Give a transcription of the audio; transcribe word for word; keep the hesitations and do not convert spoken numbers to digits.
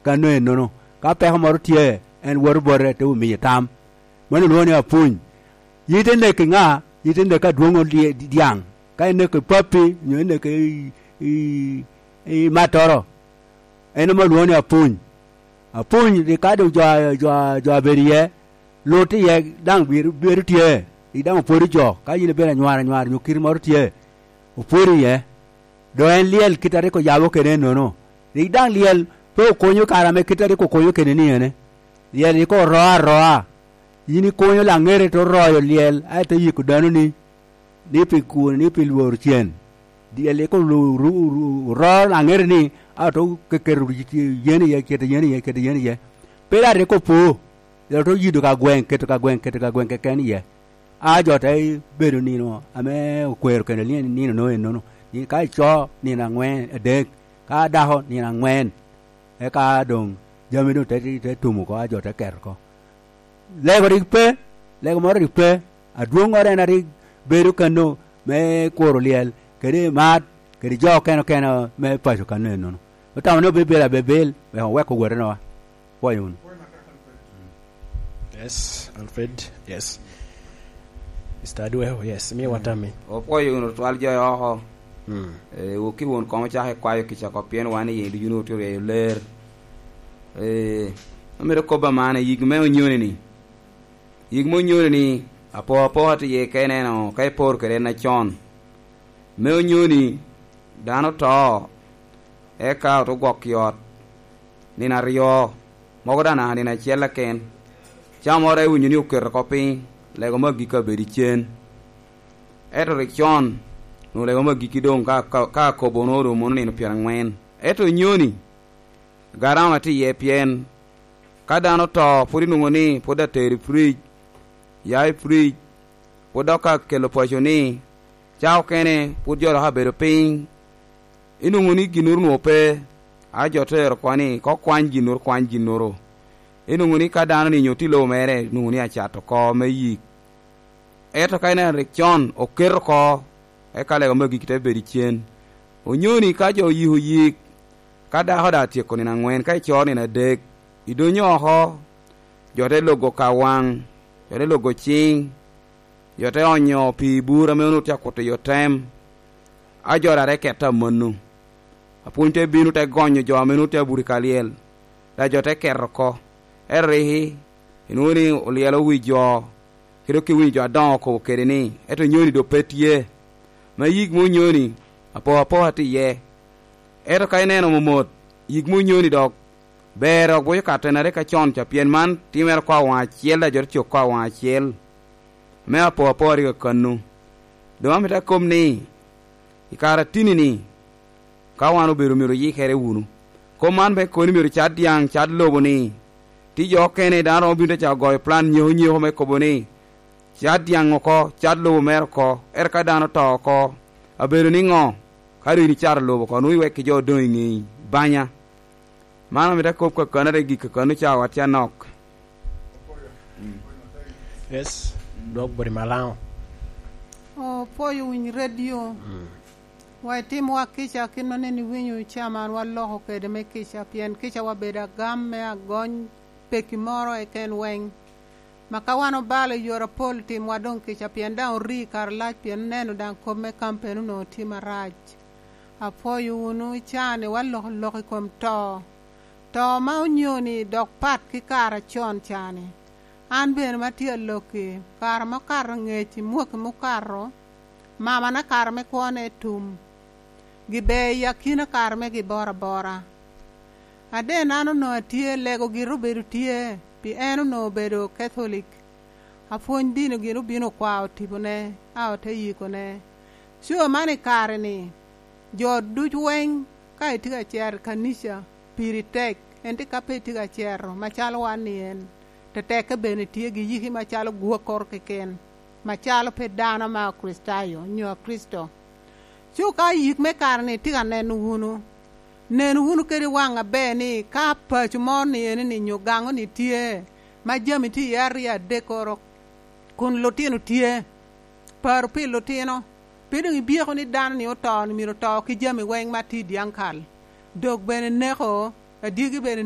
Ano ennono? Ka peko moro tye, en woto bote, te omiye tam. Mano olwoŋo ni apuny. Yite neko ŋa? Yite neko adwoŋo dye-, dyaŋ. Ka ineko pappi, onyo ineko i, i, i mattoro, en ame olwoŋo ni apuny. Apuny, rik ka doŋ jo, jo, jo abedo iye, lut iye, daŋ bedo, bedo tye, rik daŋ opwodo jo. Ka yin ibedo anywar anywar, onyo kiri moro tye, opwodo iye. Doŋ en lyel kit a rik oyabo kede ennono. Rik daŋ lyel pe okonyo kare ame kit a rik okonyo kede ni ene. Lyel rik oro aroa. Yin ikonyo laŋete te oroyo lyel, a ite yiko dano ni, ni pi kun, ni pi lworo cen. Lyel rik olu-, ru-, ru-, oro laŋete ni, a to ke-, keto yen iye, keto yen iye, keto yen iye. Pe daŋ rik opo. Lyel to yido ka gweŋ, keto ka gweŋ, keto ka gweŋ keken iye. A jo te bedo nino ame okwero kede nino, nino no ennono. Ni ka ico, nino aŋwen, adek, ka dako, nino aŋwen, eka doŋ jami doŋ te, te, te tum oko, a jo te keto oko. Lego rik pe, lego moro rik pe, adwoŋŋoro en a rik bedo kano me kuro lyel, kede mat, kede jo okene okene me paco kano ennono. Otamo ni obedo abebel, wek owek owotenowa. Pwoyo wunu. Yes, Alfred. Yes. Mister Adweo, yes. Mi watami. Opwoyo wunu twal jo oko. Mm. Eh, wuki wun komo cako ikwayo kica oko, pien wan i yin ducu wun otye oryeyo ler. Eh, amito kobba man, yik me onyoni ni. Yik me onyoni ni, apo apoka tye iye ka ineno, ka iporo kede en acon. Me onyoni, dano to, eka ote gwok i ot nino aryo, mogo daŋ naka nino acel keken. Cawa moro iwinyo ni oketo oko piny, lego me agikki abedo i cen. Ento rik con, onwoŋo lego me agikki doŋ ka, ka, ka akobo onwoŋo orumo nino pyeraŋwen. Ento onyoni, garama tye iye pien ka dano to, pwod inwoŋo ni pwod atero i firic, ya i firic, pwod dok akelo paco ni, ca okene pwod jo dok abedo piny, inwoŋo ni ginnoro onwoŋo pe, a jo te ero oko ni, "Ko kwany ginnoro, kwany ginnoro." Inwoŋo ni ka dano ni nyo tye i lobo mere, inwoŋo ni acato oko me yik. Ento ka ineno rik con, oketo oko, eka lego me agikki te bedo i cen. Onyoni ka jo oyiko yik, ka dako daŋ atyeko nino aŋwen, ka icoro nino adek, idonyo oko, jo te logo ka waŋ, jo te logo ciŋ, jo te onyo pii i bur ame onwoŋo tye akuto i otem, a jo daŋ te kette amanno. Apwony te bino, te gonyo jo ame onwoŋo tye abuto i ka lyel, daŋ jo te keto oko. Ento rik inwoŋo ni olyelo wi jo, kede dok iwinyo jo adoŋo okobo kede ni, "Ento nyoni doŋ pe tye." Ma yik me onyoni, apo apoka tye iye. Ento ka ineno momot, yik me onyoni dok ber dok boco ka tenere ka con ca, pien man timere oko awaŋ acel, daŋ jo te cok oko awaŋ acel. Me apo apoka rik akannu. Doŋ amito akob ni, i kare atini-ni, ka wan obedo myero oyikere wunu. Kop man me koni myero cat dyaŋ, cat lobo ni, tye jo okene daŋ romo bino te cako goyo plan nyeko nyeko me kobo ni, cat dyaŋ oko, cat lobo mere oko, ento ka dano oto oko, abedo niŋo? Ka doŋ in icato lobo oko, nwoŋo iwekki jo odoŋ i ŋei banya. Man amito akob kakanere i gik kakanni ca, watye anok. Yes, dwok boti malaŋo. Opwoyo winy radio. Mm. Wa itimwa kica kit maneni iwinyo caman waloko kede me kica, pien kica wabedo agam me agony peki moro eken weng. Ma ka wan obalo i yore apol, timwa doŋ kica, pien daŋ ori i kare lac, pien oneno daŋ kop me kampen onwoŋo tye marac. Apwoyo wunu i caa-ni, waloko lok i kom to. To ma onyo-ni dok pat ki kare acon caa-ni. An bene ma tye alokki, kare ma okato ngec i mwaki mukato, mamana kare me kwone tum, gibe i akina kare me giboro abora. Aden an onwoŋo atye, lego gire obedo tye, pi en onwoŋo obedo Katholik. Apwony dini gin obino okwao tipone, a ote yikone. Coo man i kare-ni, jo ducu weng, ka itye ka cero i kanica, piri tek, ento ka pe itye ka cero, macalo wan ni en, tetekke bene tye giyiki macalo gwokkoro keken, macalo pe dano ma Okricitayo, nyo Kricito. Coo ka yik me kare-ni tye ka neno wunu, nen wunu kede waŋ aber ni ka paco moro ni eni ni nyo gaŋo ni tye, ma jami tye iye aryo adekkoro, kun lutino tye. Paro pi lutino, pe doŋ ibyeko ni dano ni oto, ni myero oto ki jami weng ma tye i dyaŋ kal. Dok bene neko, adyegi bene